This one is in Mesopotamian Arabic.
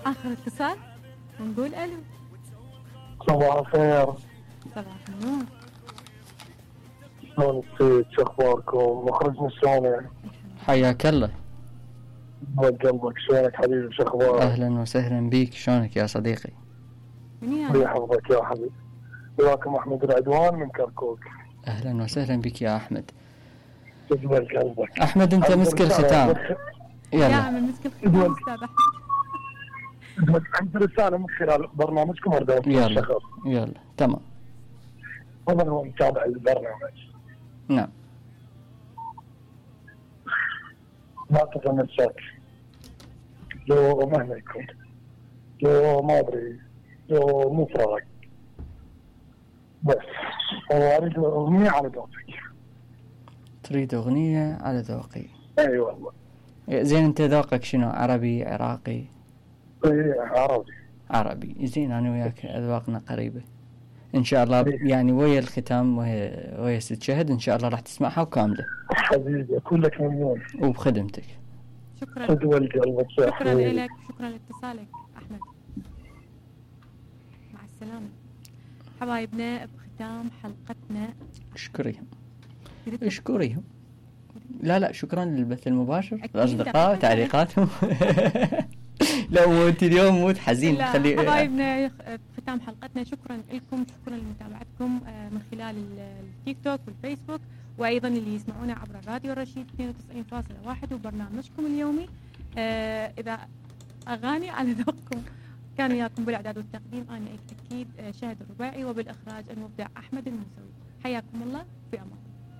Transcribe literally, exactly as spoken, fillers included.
آخر اتصال ونقول ألو. صباح الخير. صباح النور. شلون انتي؟ شو اخباركم؟ مخرجنا شلونه؟ حياك الله. ود قلبك، شلونك حبيبي؟ شو اخبارك؟ اهلا وسهلا بيك، شلونك يا صديقي؟ الله يحفظك يا حبيبي. وياكم احمد العدوان من كركوك. اهلا وسهلا بك يا احمد. تقبل قلبك. احمد انت مسك الختام. يلا يا عم مسك الختام استاذ احمد. عندي رساله من خلال برنامجكم اريد اوصل يلا الشخص. يلا تمام. طبعا هو متابع البرنامج. نعم. ما تتمسك لو مهما يكون، لو ما ادري، لو مو فراق، بس هو اريد اغنيه على ذوقك. تريد اغنيه على ذوقي؟ اي والله. زين انت ذوقك شنو؟ عربي، عراقي؟ اي عربي. عربي. زين انا وياك اذواقنا قريبه ان شاء الله. يعني ويا الختام ويا ويا ست شهد ان شاء الله راح تسمعها وكامله. حبيبي كلك ممنون وبخدمتك. شكرا. تدول قلبك. شكرا لك، شكرا لاتصالك احمد. مع السلامه حبايبنا. بختام حلقتنا اشكريهم اشكريهم. لا لا شكرا للبث المباشر، الاصدقاء تعليقاتهم. لا موت اليوم موت حزين. خلي حبايبنا ختام حلقتنا. شكرا لكم، شكرا لمتابعتكم من خلال التيك توك والفيسبوك، وايضا اللي يسمعونا عبر الراديو الرشيد اثنين وتسعين فاصلة واحد وبرنامجكم اليومي. اذا اغاني على ذوقكم. كان وياكم بالاعداد والتقديم انا اكيد شهد الرباعي، وبالاخراج المبدع احمد الموسوي. حياكم الله، في امان.